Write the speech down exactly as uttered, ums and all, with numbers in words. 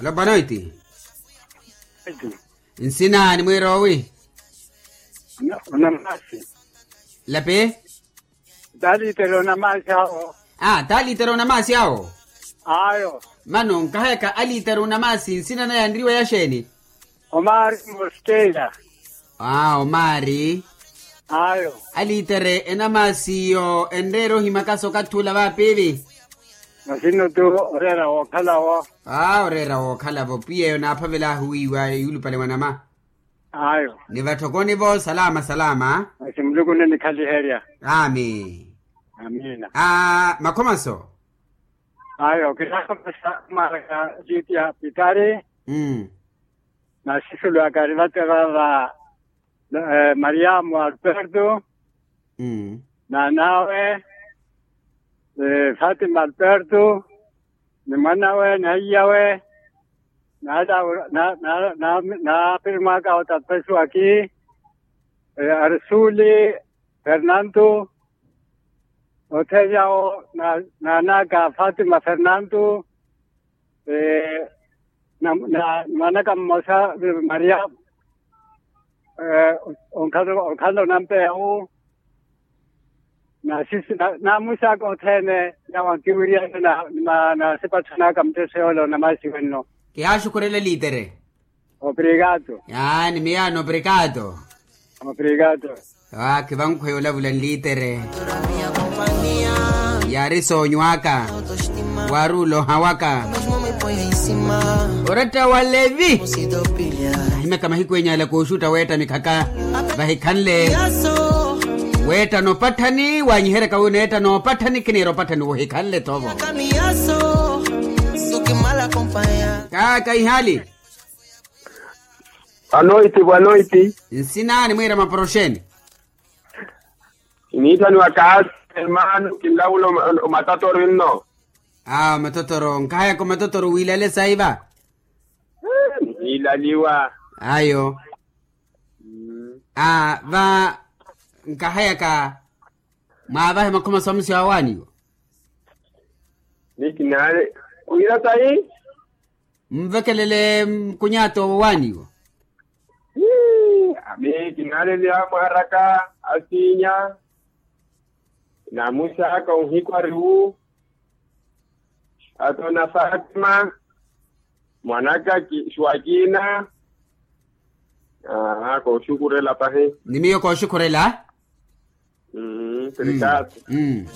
Lopanoiti. Nsina nimwiira owi? Onamasi. Lapi. Talitere onamasi awo. Ah, talitere onamasi awo. Ayo. Mano nkahayaka alitere onamasi nsina naye anriwa yaxeeni? Omari moskeira. Ah, omari. Ayo. Alitere enamasi iyo enreera ohimakaso okathi ula vapiivi? Masino tu. Oreera wookhalawo. Ah, oreera wookhalavo pwiya eyo naaphavelaahu wiiwa yuulupale mwanama. Ayo. Ni vatthokoni vo salama salama. Masi muluku onenikhaliherya. Ami. Amina. Ah, makhomaso. Ayo kinakhomasa mara ya jiti ya pitari. Mm. Nasisulu akari vate vava. Mariamu alberto. Mm. Nanawe. Fatima alberto. Ni mwanawe na iyawe. Naala na na na na pirimwaka otapesiwaki. Arisuli fernando. Othene awo na nanaka fatima fernando. Na mwanaka mmosa. Maria. Onkhala onampeya wu. Nasisi namusaka othene. Yawo ankiwiriyana na nasipathanaka mutteso yoole onamasi wenno. Kihaaxukhurela elitere. Obrigado. Aa ni miyaano obrigado. Obrigado. Aakhi vankhweya olavula nlitere. Yaari soonyo aka. Waari oloha waka. Oretta wa levi. Ahimyaka mahiku enyala kooxutta weetta mikhaka. Vahikhanle. Weetta nopatthani wanyiheryaka wi neetta nopatthani khiniira opatthani wohikhanle thovo. Kaaka ihaali. Anoiti bwanoiti. Nsina nimwiira maporoxeni? Kiniithaniwa kaasi. Hermano kinlawula omatotoro inno. Aa omatotoro nkahayaka omatotoro wiilale saiva. Nihiilaliwa. Ayo. Aa va nkahayaka mwaavahe makhomaso amusi awaaniwa. Ni kinaale wira tahi. Mvekelele nkunyaato wowaaniwa. Ami kinaaleleya mwaaraka asiinya. Namusaaka onhikwa riwu. Atona fatima. Mwanaka swakina. Aa kooxukhurela pahi. Ni miyo kooxukhurela. Mmm.